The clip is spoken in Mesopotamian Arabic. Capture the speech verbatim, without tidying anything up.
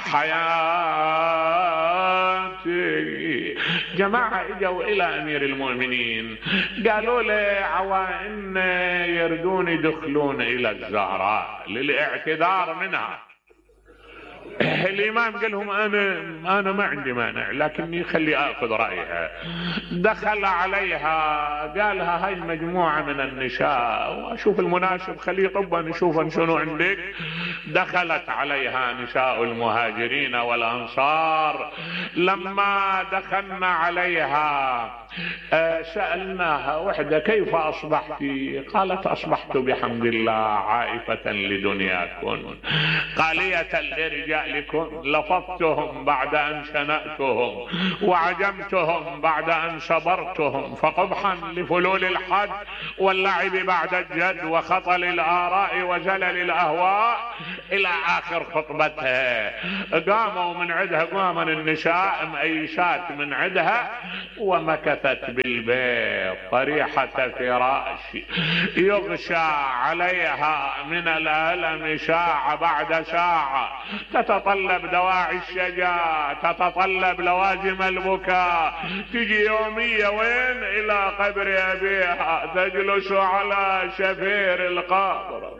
حياتي. جماعة اجوا الى امير المؤمنين قالوا له عوائن يردون يدخلون الى الزهراء للاعتذار منها. الامام قال لهم انا انا ما عندي مانع لكني خلي اخذ رايها. دخل عليها قالها هاي مجموعه من النساء واشوف المناسب خليه طبا نشوفا شنو عندك. دخلت عليها نساء المهاجرين والانصار. لما دخلنا عليها سالناها وحده كيف اصبحت؟ قالت اصبحت بحمد الله عائفه لدنياكم قاليه لرجالكم لفظتهم بعد ان شنأتهم وعجمتهم بعد ان صبرتهم فقبحا لفلول الحد واللعب بعد الجد وخطل الاراء وزلل الاهواء الى اخر خطبتها. قاموا من عندها قام النساء مأيسات من عندها ومكثت بالبيت طريحة فراش يغشى عليها من الألم ساعة بعد ساعة. تتطلب دواعي الشجاع تتطلب لوازم البكاء. تجي يومية وين؟ إلى قبر أبيها تجلس على شفير القبر.